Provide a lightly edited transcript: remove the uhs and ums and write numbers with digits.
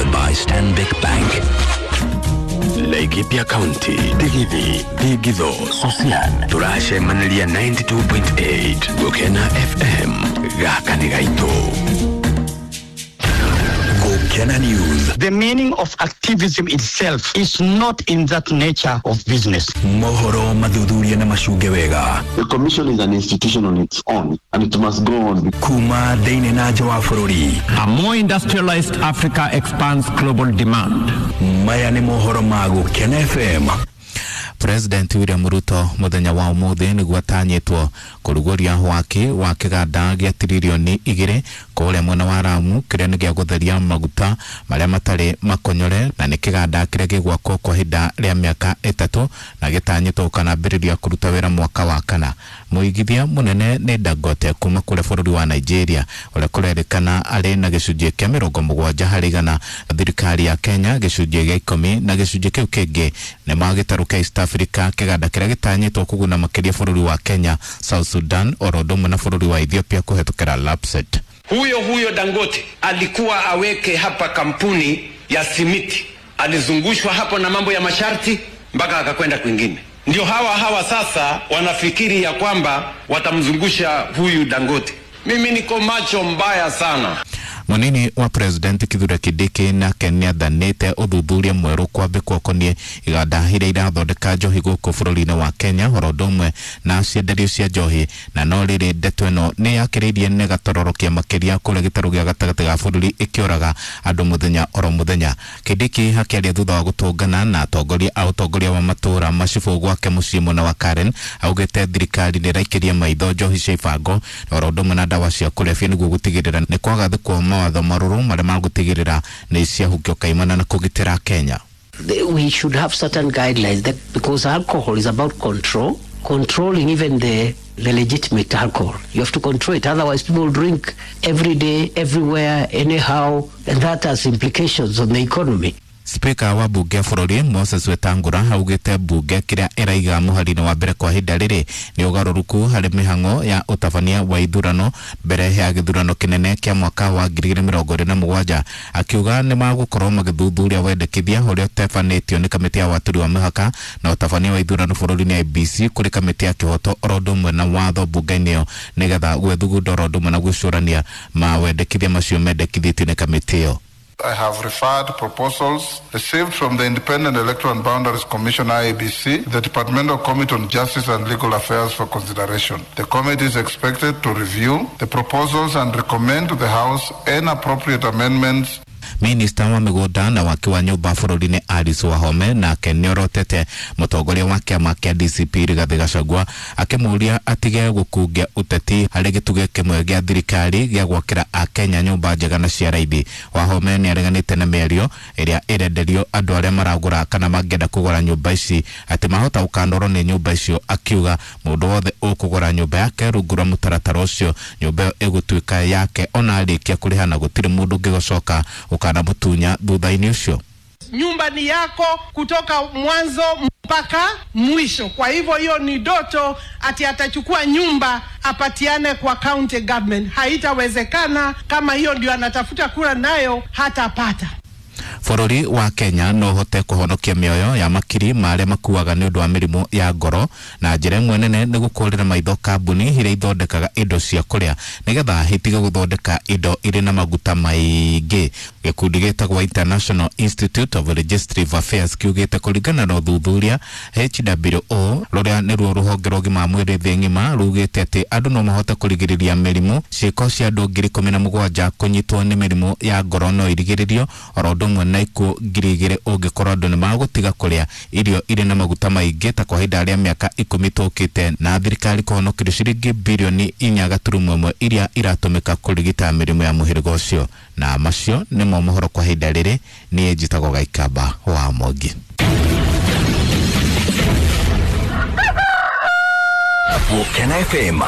Powered by Stanbic Bank. Laikipia County, Digithi, Digitho, Sosian, turacemaniria 92.8 Gukena FM, gaka nĩ gaitũ. Gukena News. The meaning of activism itself is not in that nature of business. Mohoro mathuthuria na macunge wega. The commission is an institution on its own and it must go on. Kuma thĩinĩ na nja wa bũrũri. A more industrialized Africa expands global demand. Maya nĩ mohoro ma Gukena FM. President William Ruto muthenya wa umuthi niguo atanyitwo kuruguria waki wa kiganda gia tiririoni 2 kuria mwena wa Lamu kiria ni gia gutheria maguta maria matari makonyore na ni kiganda kiria gigwakwo kwa ihinda ria miaka 3 na gitanyitwo gukanambiriria kuruta wira mwaka wa kana. Muigithia munene ni Dangote kuma kuria bururi wa Nigeria uria kurerikana ari na gicunjĩ kia 70 harĩ igana, thirikari ya Kenya gicunjĩ gia 10 na gicunjĩ kiu kingi ni magĩtarũ kia East Africa kiganda kiria gitanyitwo kuguna makiria bururi wa Kenya, South Sudan oro ũndũ na bururi wa Ethiopia kuhetũkĩra LAPSSET. Huyo Dangote alikuwa aweke hapa kampuni ya simiti, alizungushwa hapo na mambo ya masharti mpaka akakwenda kwingine. Ndio hawa sasa wanafikiri ya kwamba watamzungusha huyu Dangote. Mimi niko macho mbaya sana. Munini wa President Kithure Kindiki nake nĩathanĩte ũthuthuria mwerũ kwambĩkwo ũkoniĩ iganda iria irathondeka njohi gũkũ bũrũri-inĩ wa Kenya oro ũndũ ũmwe na cienderio cia njohi, na no rĩrĩ ndeto ĩno nĩ yakĩrĩirie nĩ gatororokia makĩria kũrĩa gĩtarũ gĩa gatagatĩ ga bũrũri ĩkĩũraga andũ mũthenya oro mũthenya. Kindiki akĩaria thutha wa gũtũngana na atongoria a ũtongoria wa matũũra macibũ gwake mũciĩ mwena wa Karen augĩte thirikari nĩ ĩraikĩria maitho njohi cia ibango oro ũndũ ũmwe na ndawa cia kũrebia nĩguo gũtigĩrĩra nĩ kwagathĩkwo mawatho marũrũ marĩa magũtigĩrĩra nĩ ciahukio kaimana na kũgitĩra Kenya. We should have certain guidelines that, because alcohol is about control, controlling even the legitimate alcohol. You have to control it, otherwise people drink every day, everywhere, anyhow, and that has implications on the economy. Speaker wa bunge bũrũri Moses Wetangula augĩte bunge kĩrĩa ĩraiga mũhari-inĩ wa mbere kwa ihinda rĩrĩ nĩ ũgarũrũku harĩ mĩhang'o ya ũtabania wa ithurano mbere ya gĩthurano kĩnene kĩa mwaka wa 2027, akiuga nĩ magũkorwo magĩthuthuria wendekithia ũrĩa ũtabanĩtio nĩ kamĩtĩ ya watũri wa mĩhaka na ũtabania wa ithurano bũrũri-inĩ IEBC kũrĩ kamĩtĩ ya kĩhoto oro ũndũ ũmwe na watho bunge-inĩ ĩyo nĩgetha gwĩthugunda oro ũndũ ũmwe na gwĩcũrania mawendekithia macio mendekithĩtio nĩ kamĩtĩ ĩyo. I have referred proposals received from the Independent Electoral and Boundaries Commission IEBC, the Departmental Committee on Justice and Legal Affairs for consideration. The committee is expected to review the proposals and recommend to the House any appropriate amendments. Minista wa mĩgũnda na waki wa nyũmba bũrũri-inĩ Alice Wahome nake nĩorotete mũtongoria wa kĩama kĩa DCP Rigathĩ Gachagua akĩmũũria atige gũkungia ũteti harĩ gĩtugĩ kĩmwe gĩa thirikari gĩa gwakĩra Akenya nyũmba njega na cia raithi. Wahome nĩareganĩte na mĩario ĩrĩa ĩrenderio andũ arĩa maragũra kana mangĩenda kũgũra nyũmba ici atĩ mahota gũkanorwo nĩ nyũmba icio, akiuga mũndũ wothe ũkũgũra nyũmba yake rungu rwa mũtaratara ũcio nyũmba ĩyo ĩgũtuĩka yake ona arĩkia kũrĩha na gũtirĩ mũndũ ũngĩgũcoka ukana mutunya thutha-inĩ ũcio. Nyumba ni yako kutoka mwanzo mpaka mwisho. Kwa hivyo hiyo ni ndoto ati atachukua nyumba apatiane kwa county government. Haitawezekana. Kama hiyo ndio anatafuta kura nayo hatapata. Bũrũri wa Kenya no ũhote kũhonokia mĩoyo ya makiri ma arĩa makuaga nĩ ũndũ wa mĩrimũ ya ngoro na njĩra ĩmwe nene nĩ gũkũrĩra maitho kambuni iria ithondekaga indo cia kũrĩa nĩgetha itige gũthondeka indo irĩ na maguta maingĩ. Gĩkundi gĩtagwo International Institute of Legislative Affairs kiugĩte kũringana na ũthuthuria HWO rũrĩa nĩruo rũhonge rwa ũgima wa mwĩrĩ thĩ ng'ima rugĩte atĩ andũ no mahote kũrigĩrĩria mĩrimũ. Ciĩko cia andũ 17,000 kũnyitwo nĩ mĩrimũ ya ngoro no irigĩrĩrio oro ũndũ ũmwe na ikuũ 2,000 ũngĩkorwo andũ nĩ magũtiga kũrĩa irio irĩ na maguta maingĩ ta kwa ihinda rĩa mĩaka 10 tũkĩte, na thirikari kũhonokerio ciringi birioni 4.1 iria iratũmĩka kũrigita mĩrimũ ya mũhĩrĩga ũcio. Na macio nĩmo mohoro kwa ihinda rĩrĩ. Niĩ njĩtagwo Gaikamba wa Mwangi. Gukena FM.